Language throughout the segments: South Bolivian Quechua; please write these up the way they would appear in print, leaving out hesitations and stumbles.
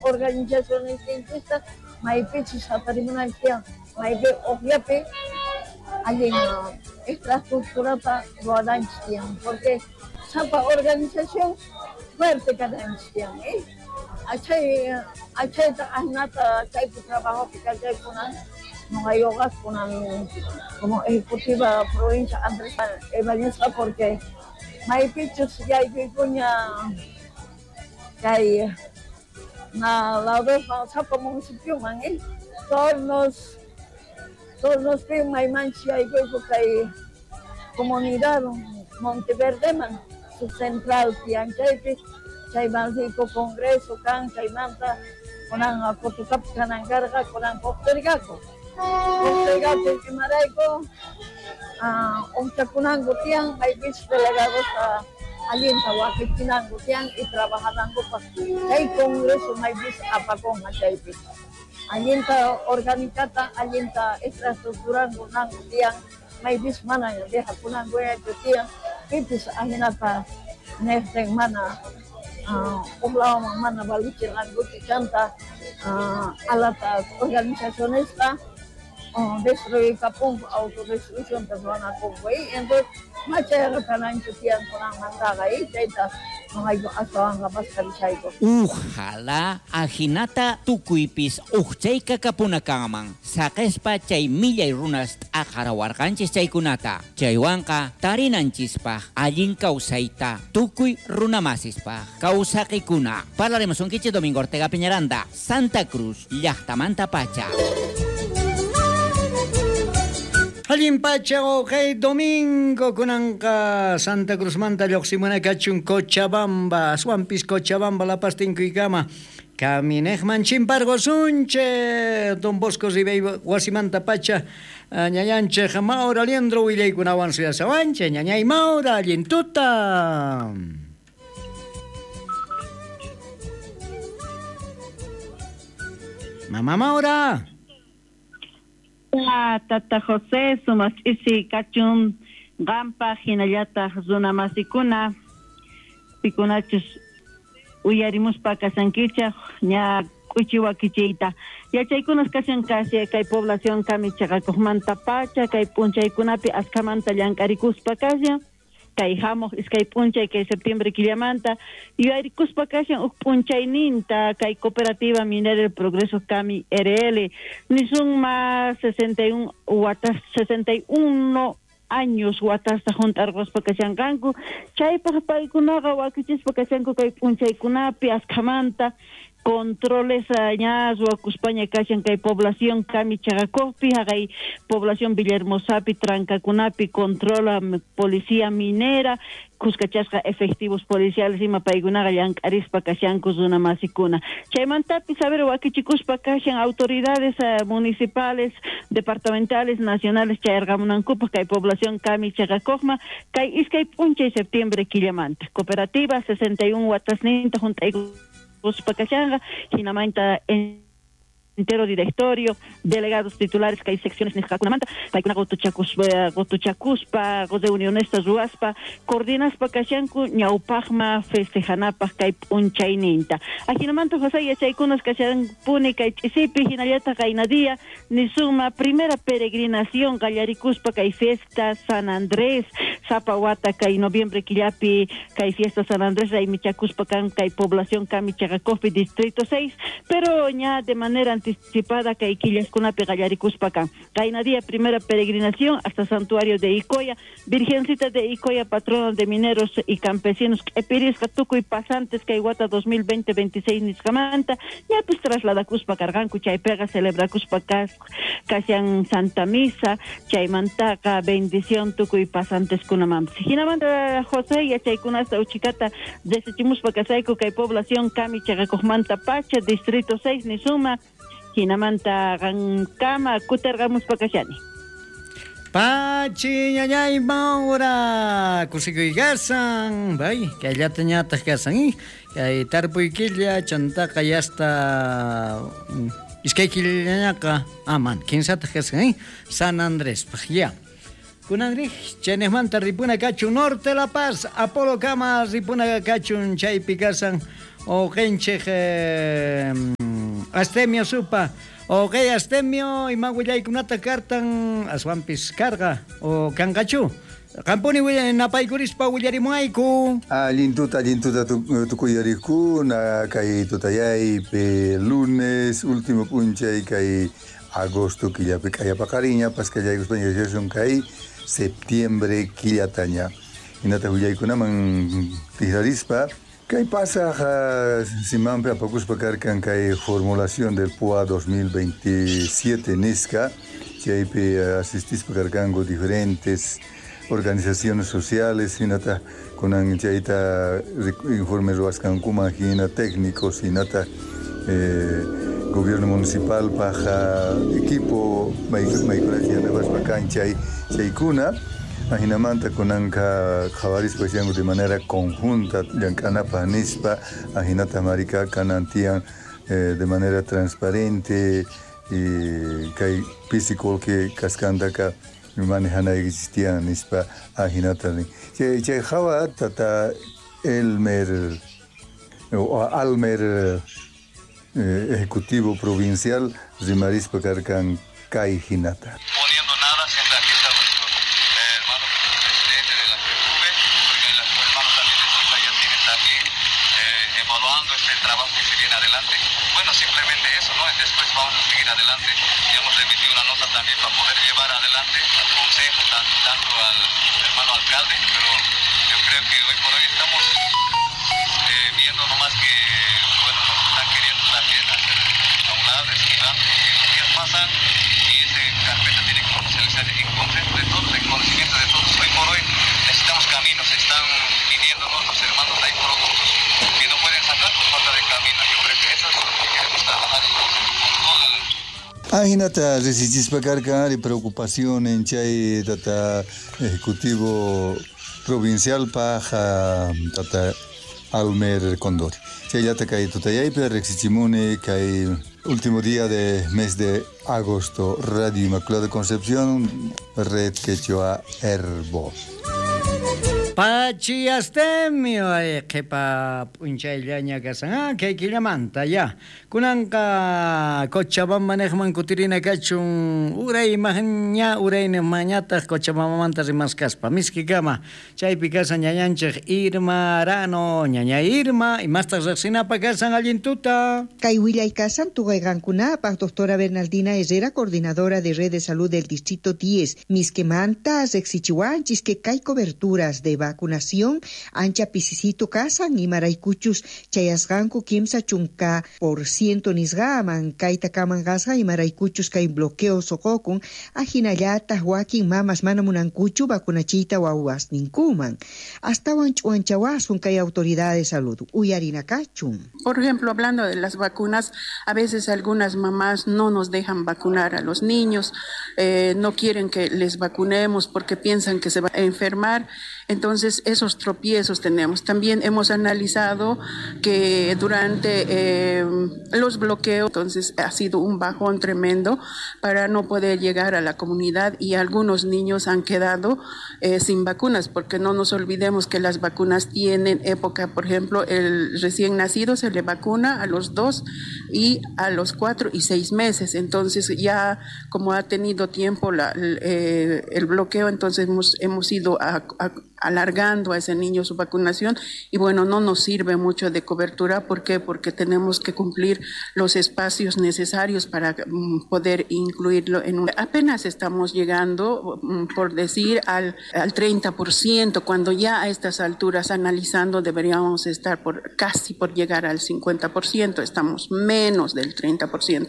Organizacionesninchista maypichus jatarimunanchis tiyan, maypi ujllapi allin infraestructurata ruwananchis tiyan, porque sapa organización fuerte kananchis tiyan, eh? Achay achayta ajinata chaypi trabajopi kachaykunan noqayuqa kunan como ejecutiva provincia Andrés Ibáñezqa, porque maypichus yaykuykuña kay na ladosman sapa municipioman, eh? Tornos Tornospi maymanchus yaykuyku kay comunidad Monteverdeman, su central tiyan chaypi, chayman riyku congreso kan chaymanta kunan Cotocapi kanan karqa, kunan postergaku postergaku imarayku ujchakunanku tiyan, maypichus delegadosta allinta wakichinanku tiyan y trabajanankupaq chay congreso maypis apakunqa chaypi allinta orgánicata allinta infraestructuranku tiyan, maypis mana dejakunankuñachu tiyan pipis ajinata nejtin mana uj ladoman mana valichirqankuchu chanta alata organizacionesta destruykapunku, autodestruccionta ruwanakunku, entonces machayqa kananchu tiyan kunanmantaqa, chayta noqayku astawanqa paskarishayku. Ojalá ajinata tukuypis ujchayka kapunakanman saqespa chay millay runas t'aqarawarqanchis chaykunata, chaywanqa tarinanchispaj allin kawsayta tukuy runamasispaj kawsaqikuna. Parlaremos unkichis Domingo Ortega Peñaranda, Santa Cruz, llaqtamanta pacha. Allin pacha kay domingo kunanqa Santa Cruzmanta lluqsimuna kachun Cochabamba, aswanpis Cochabamba La Paz tinkuykama kaminejman chimparqusunchik Don Bosco Ribeiro wasimanta pacha ñañanchik Maura Liendro willaykunawan suyasawanchik. Ñañay Maura, allin tuta. Mamá Maura. Tata José, sumaq ch'isi kachun qanpaq hinallataq runamasikuna pikunachus uyarimuspa kashankichaq ña k'uchi wakichiyta yachaykunas kashan kasi kay población kami chaqakuqmanta pacha kay p'unchaykunapi askhamanta llank'arikuspa kashan kay hamuq iskay p'unchay kay septiembre killamanta yuyarikuspa kashan uj p'unchayninta kay cooperativa minera El Progreso Cami RL nisunma 61 watas 61 años watasta junt'arquspa kashanqanku chaypaq paykunaqa wakichispa kashanku kay p'unchaykunapi askhamanta controles ña ruwakuspaña kashan kay población Cami Chaqakuqpi haqay población Villahermosapi trancakunapi controla policía minera kuskachasqa efectivos policiales ima paykunaqa llank'arispa kashanku runamasikuna chaymantapis a ver wakichikuspa kashan autoridades municipales departamentales nacionales chayarqamunankupaq kay población Cami Chaqakuqma kay iskay p'unchay septiembre killamanta cooperativa 61 watasninta junt'ayku kashanqa hinamanta entero directorio, delegados titulares kay secciones nisqakunamanta paykuna qutuchakuspa reunionestas ruwaspa coordinaspa kashanku ñawpaqma festejanapaq kay p'unchayninta ajinamanta José yachaykunas kashanpuni kay ch'isipi hinallataq qaynadía nisuma primera peregrinación qallarikuspa kay fiesta San Andrés sapa wata kay noviembre killapi kay fiesta San Andrés raymichakuspa kan kay población Cami Chaqakuqpi distrito 6 pero ña de manera anticipada kay killaskunapi qallarikuspa kan qaynadía primera peregrinación hasta santuario de Icoya, Virgencita de Icoya, patrona de mineros y campesinos q'epirisqa tukuy pasantes kay wata 2020-26 nisqamanta ña pues trasladakuspa karqanku chaypiqa celebrakuspa kashan Santa Misa chaymantaqa bendición tukuy pasanteskunamanpis hinamanta José yachaykunasta uchikata desechimuspa kasayku kay población Cami Chaqakuqmanta pacha distrito 6 nisuma hinamanta qankama kutarqamuspa kashani. Pachi ñañay Maura kusikuy kasan bay kayllata ñataq kasan kay tarpuy killa chantaqa yasta iskay killañaqa aman kinsataq kasan San Andrés ya. Kunanrij chaynejmanta ripuna kachun Norte La Paz Apolo kama ripuna kachun chaypi kasan uqinchik Astemio Supa. Okay, Astemio, ima willaykunata kartan aswanpis karqa o kanqachu. Qampuni napaykurispa willarimuayku. Allin tuta tukuyarikuna kay tutayaypi lunes último p'unchay kay agosto killapi k'ayapaqariña paskallaykuspaña yachashun kay septiembre killataña. Hinata willaykunaman tikrarispa kay pasaj simanpi apakuspa karkan kay formulación del PUA 2027 nisqa chaypi asistispa karkanku diferentes organizaciones sociales hinata kunan chayta informe ruwasqankuman hina técnicos hinata gobierno municipal paja equipo maykunachi yanapaspa kan chay chaykuna ajinamanta kunanqa qhawarispa chanku de manera conjunta llank'anapaq nispa ajinata marika kanan tiyan de manera transparente y kay pisi qullqi kasqantaka manejanaykichis tiyan nispa ajinata nin. Chay hawa tata Elmer o Almer Ejecutivo Provincial rimarispa karkan kay hinata. Poniendo nada, siempre aquí está nuestro hermano presidente de la FEJUVE, porque el hermano también de Sayacín está aquí evaluando este trabajo que se viene adelante. Bueno, simplemente eso, ¿no? Después vamos a seguir adelante. Ya hemos remitido una nota también para poder llevar adelante al consejo, tanto al hermano alcalde, pero yo creo que hoy por hoy estamos viendo nomás que, bueno, nos están queriendo también hacer a un lado, esquivando, que los días pasan y esa carpeta tiene que oficializar en consejo de todos, en conocimiento de todos. Hoy por hoy necesitamos caminos, están pidiéndonos los hermanos, hay productos que no pueden sacar por falta de camino. Yo creo que eso es lo que queremos trabajar en con todo el... Ajinata resistispa karkan ari preocupación en chay tata ejecutivo provincial paja tata Almer Condori. Chayllata kay tutayaypi riqsichimuni kay último día de mes de agosto Radio Inmaculada Concepción Red Quechua Herbo. Pachi Astemio qhipa p'unchayllaña kasan kay killamanta ya kunanqa Cochabamba niqman kutirina kachun uray ña urayniqmanñataq Cochabambamanta rimaskaspa miskikama chaypi kasan ñañanchik Irma Arano ñaña Irma imastaq riqsinapaq kasan allin tuta. Kay willay kasan tuqayqankunapaq doctora Bernaldina Herrera, coordinadora de Red de Salud del Distrito 10 miskimanta riqsichiwanchis que kay coberturas de vacunación ancha pisisito kasan imaraykuchus chayasqanku 30% nisqaman kayta kaman kasqa imaraykuchus kay bloqueo suqukun ajinallataq wakin mamas mana munankuchu vacunachiyta wawasninkuman astawan ch'uwanchawasun kay autoridad de salud uyarinakachun. Por ejemplo, hablando de las vacunas, a veces algunas mamás no nos dejan vacunar a los niños, no quieren que les vacunemos porque piensan que se va a enfermar. Entonces, esos tropiezos tenemos. También hemos analizado que durante los bloqueos, entonces ha sido un bajón tremendo para no poder llegar a la comunidad y algunos niños han quedado sin vacunas, porque no nos olvidemos que las vacunas tienen época. Por ejemplo, el recién nacido se le vacuna a los 2 y a los 4 y 6 meses. Entonces, ya como ha tenido tiempo el bloqueo, entonces hemos ido alargando a ese niño su vacunación y bueno, no nos sirve mucho de cobertura. ¿Por qué? Porque tenemos que cumplir los espacios necesarios para poder incluirlo en un... Apenas estamos llegando, por decir, al 30%, cuando ya a estas alturas analizando deberíamos estar casi por llegar al 50%, estamos menos del 30%.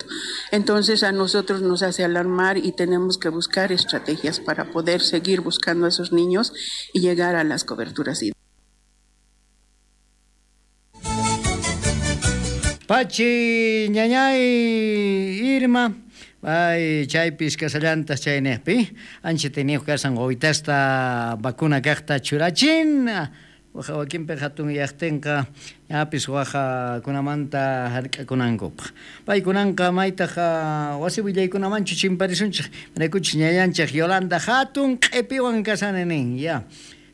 Entonces a nosotros nos hace alarmar y tenemos que buscar estrategias para poder seguir buscando a esos niños y llegar a las coberturas. Pachi, ñañay, Irma, ay, chaypis kasallantas chaynejpi, ancha tiniyuq kasan wawitasta vacuna kaqta churachin, waja wakinpi hatun yaqtinqa ñapis wajakunamanta hark'akunankupaq. Paykunanqa maytaq wasi willaykunamanchu chimparisunchik, maraykuchis ñañanchik Yolanda hatun q'ipiwan kasani nin, ya.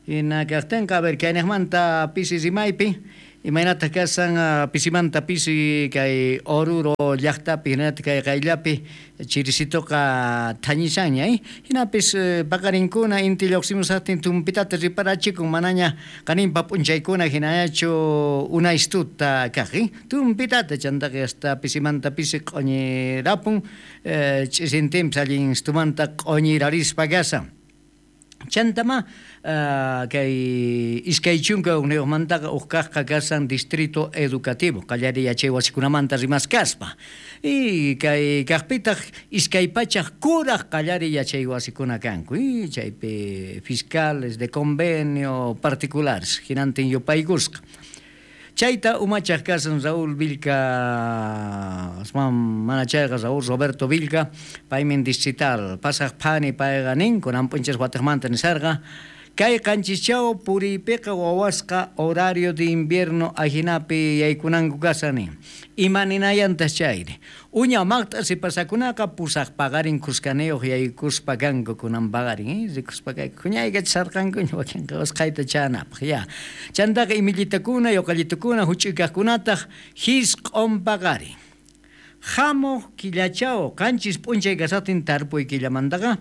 Hina kaqtinqa, a ver, kaynejmanta pisi rimaypi, Imaynataq kasan pisimanta pisi kay Oruro llaqtapi hinallataq kay qayllapi chirisituqa thañishanña, hinapis paqarinkuna inti lluqsimusaqtin tumpitata riparachikun manaña qaninpa p'unchaykuna hinañachu unaystuta kaq, tumpitata chantaqa hasta pisimanta pisi q'uñirapun, ch'isintinpis allin istumanta q'uñirarispa kasan. Chantama kay 21mantaqa uj kaqqa kasan distrito educativo qallariy yachay wasikunamanta rimaskaspa y kay kaqpitaq 200 kuraq qallariy yachay wasikuna kanku y chaypi fiscales de convenio particulares hinantin yupaykusqa. Chayta umachaq kasan Raúl Vilca, mana chayqa Raúl Roberto Vilca, paymin distrital, pasaq phani payqa nin, kunan p'unchas wataqmanta nisarqa, kay qanchischaw puriypiqa wawasqa horario de invierno ajinapi yaykunanku kasan nin. Ima ninayantas chayri. Uña maqt'a sipasakunaqa pusaq paqarin kuskaniyuq yaykuspa kanku kunan paqarin, rikuspa kayku huñaykachisarqankuña wakinqa usqhayta chanapaq ya. Chantaqa imillitakuna, yuqallitukuna, huch'uykaqkunataq hisq'un paqarin. Hamuq killachaw 7 p'unchay kasaqtin tarpuy killamantaqa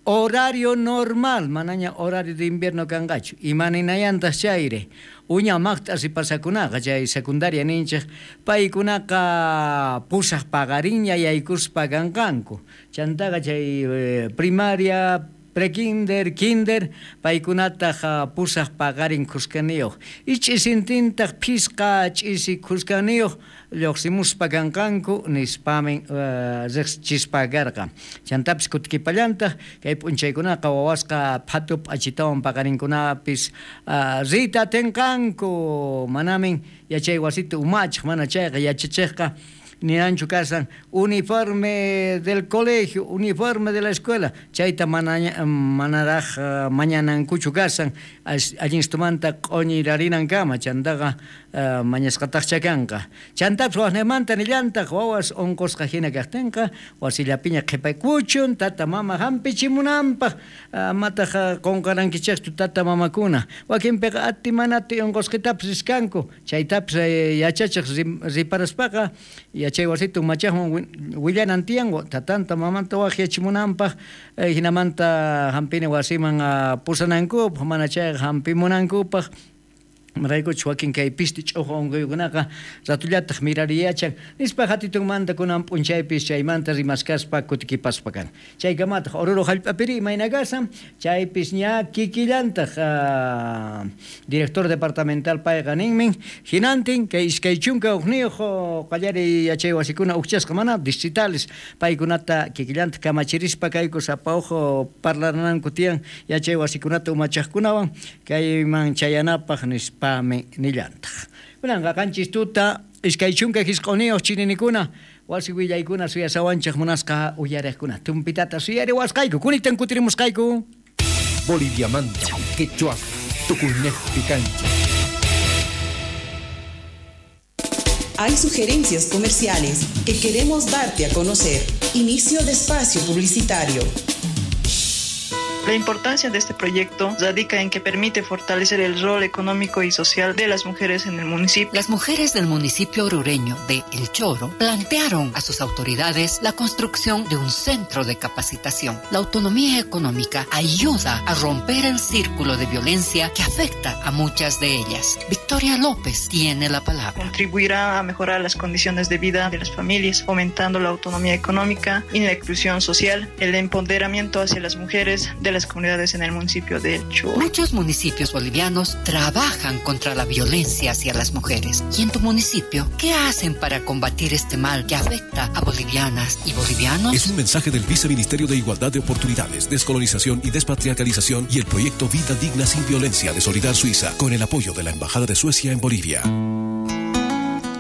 horario normal, manaña horario de invierno kanqachu. Ima ninayantas chayri. Uña maqt'a sipasakunaqa chay secundaria ninchik paykunaqa pusaq paqarinña yaykuspa kanqanku. Chantaqa chay primaria, prekinder, kinder, paykunataq pusaq paqarin kuskaniyuq. Ich'isintintaq phisqa ch'isi kuskaniyuq lluqsimuspa kanqanku nispamin riqsichispa karqa. Chantapis kutikipallantaq kay p'unchaykunaqa wawasqa phatu p'achitawan paqarinkunapis riyta atinqanku. Manamin yachay wasita umachaq mana chayqa yachachiqqa ninanchu kasan uniforme del colegio, uniforme de la escuela, chayta manaraj mañanankuchu kasan, allinstumanta q'uñirarinankama, chantaqa mañasqataqcha kanqa. Chantapis waqnimanta nillantaq wawas unqusqa hina kaqtinqa wasillapiña qhipaykuchun tata mama hampichimunanpaq, amataq qunqarankichikchu tata mamakuna. Wakinpiqa ati manati unqusqitapis riskanku, chaytapis yachachiq riparaspaqa yachay wasita umachaqman willanan tiyan tatanta mamanta waqyachimunanpaq, hinamanta hampina wasiman pusanankupaq, mana chayqa hampimunankupaq. Raykuchus wakin kay pisti ch'uqu unquykunaqa ratullataq mirariyachan nispa hatitunmanta kunan p'unchaypis chaymanta rimaskaspa kutikipaspa kan. Chaykamataq Oruro hallp'apiri imayna kasan chaypis ña kikillantaq director departamental payqa ninmin hinantin kay 21 qallariy yachay wasikuna uqchasqa mana distritales paykunata kikillantaq kamachirispa kayku sapa uj parlananku tiyan yachay wasikunata umachaqkunawan kayman chayanapaq nispa pame nillantaq. Kunanqa 7 tuta 29 chininikuna wasi willaykuna suyasawanchik munasqa uyariqkuna tumpitata suyariwasqayku kunitan kutirimusqayku. Boliviamanta quechua tukuynejpi kancha. Hay sugerencias comerciales que queremos darte a conocer. Inicio de espacio publicitario. La importancia de este proyecto radica en que permite fortalecer el rol económico y social de las mujeres en el municipio. Las mujeres del municipio orureño de El Choro plantearon a sus autoridades la construcción de un centro de capacitación. La autonomía económica ayuda a romper el círculo de violencia que afecta a muchas de ellas. Victoria López tiene la palabra. Contribuirá a mejorar las condiciones de vida de las familias, fomentando la autonomía económica y la inclusión social, el empoderamiento hacia las mujeres de las comunidades en el municipio de El Choro. Muchos municipios bolivianos trabajan contra la violencia hacia las mujeres. ¿Y en tu municipio qué hacen para combatir este mal que afecta a bolivianas y bolivianos? Es un mensaje del Viceministerio de Igualdad de Oportunidades, Descolonización y Despatriarcalización y el proyecto Vida Digna sin Violencia de Solidar Suiza, con el apoyo de la Embajada de Suecia en Bolivia.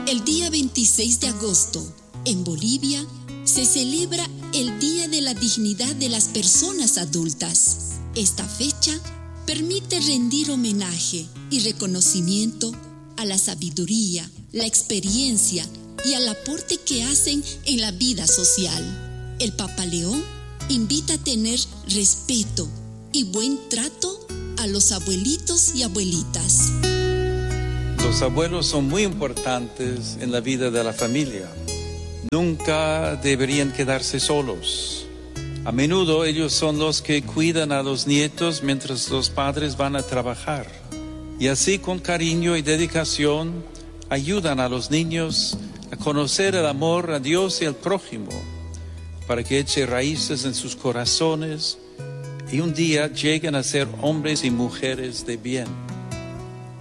El día 26 de agosto, en Bolivia, se celebra el Día de la Dignidad de las Personas Adultas. Esta fecha permite rendir homenaje y reconocimiento a la sabiduría, la experiencia y al aporte que hacen en la vida social. El Papa León invita a tener respeto y buen trato a los abuelitos y abuelitas. Los abuelos son muy importantes en la vida de la familia. Nunca deberían quedarse solos. A menudo ellos son los que cuidan a los nietos mientras los padres van a trabajar. Y así con cariño y dedicación ayudan a los niños a conocer el amor a Dios y al prójimo, para que eche raíces en sus corazones y un día lleguen a ser hombres y mujeres de bien.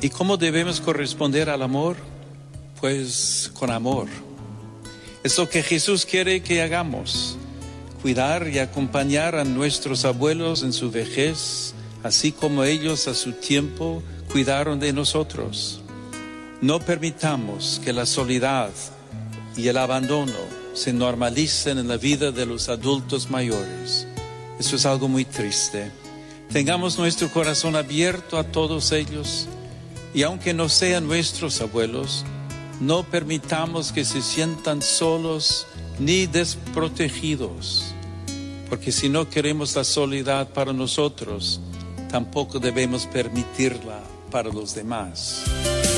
¿Y cómo debemos corresponder al amor? Pues con amor. Es lo que Jesús quiere que hagamos, cuidar y acompañar a nuestros abuelos en su vejez, así como ellos a su tiempo cuidaron de nosotros. No permitamos que la soledad y el abandono se normalicen en la vida de los adultos mayores. Eso es algo muy triste. Tengamos nuestro corazón abierto a todos ellos y aunque no sean nuestros abuelos, no permitamos que se sientan solos ni desprotegidos, porque si no queremos la soledad para nosotros, tampoco debemos permitirla para los demás.